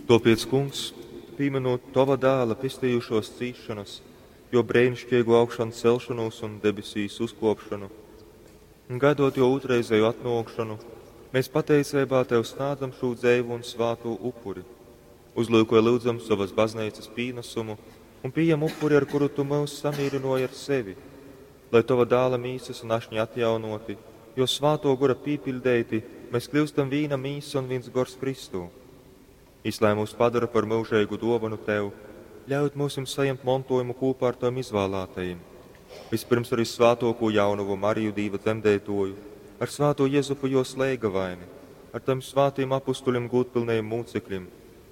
Tōpēc, Kungs, pīmynūt Tova Dāla pestejušōs cīsšonas, Jō breiniškeigū augšancelšonūs un debesīs uzkōpšonu, un gaidot Jō ūtrreizēju atnōkšonu, mēs pateiceibā Tev snādzam šū dzeivu un svātū upuri. Uzlyukoj, lyudzam, sovas bazneicas pīnasumu un pījem upuri, ar kuru Tu myus samīrynōji ar sevi, lai Tova Dāla mīsas un ašņa atjaunōti, Jō svātō gora pīpiļdeiti, mēs kļūstam vīna mīsa un vīns gors Kristū. Jis lai mūs padara par myužeigu dōvanu Tev, ļaujot myusim sajimt montojumu kūpā ar Tavim izvālātajim. Vispirms arī svātōkū jaunavu Mariju Dīva dzemdeitoju, ar svātō Jezupu jos leigavaini, ar Tavim svātajim apustuļim gūdpilnajim mūcekļim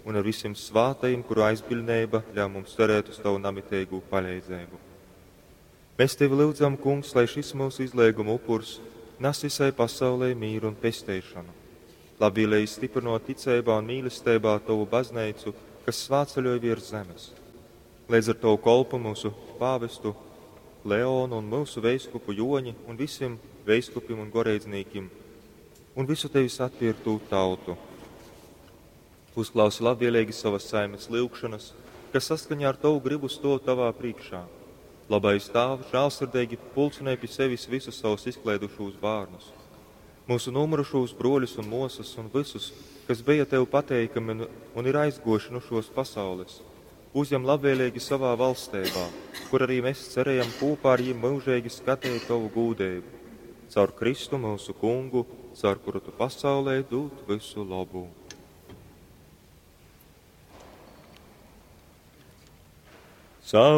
un ar visiem svātajim, kuru aizbiļneiba ļauj mums cerēt uz Tavu namiteigū paleidzeibu. Mēs Tevi lyudzam, Kungs, lai šis mūsu izlieguma upurs nes visai pasaulē mīru un pesteišanu. Labvēlīgi stiprinot ticeibā un mīlestībā Tavu baznīcu, kas svētceļoja virs zemes. Līdz ar Tavu kolpu mūsu pāvestu Leonu un mūsu veiskupu Joņi un visiem veiskupim un goreidznīkim un visu Tevis atpirktū tautu. Uzklausi labvēlīgi savas saimes lyugšanas, kas saskaņā ar Tavu gribu stov Tavā priekšā. Labais Tāvs, žēlsirdīgi pulcinē pie sevis visus savus izklaidušos bērnus, mūsu nomurušos broļus un mosas un visus, kas bija Tev pateikami un, un ir aizgoši no šos pasaules, uzņem labvēlīgi savā valstībā, kur arī mēs cerējam kopā ar viņiem mūžīgi skatīt Tavu gūdību. Caur Kristu mūsu kungu, caur kuru Tu pasaulē dod visu labu. Caur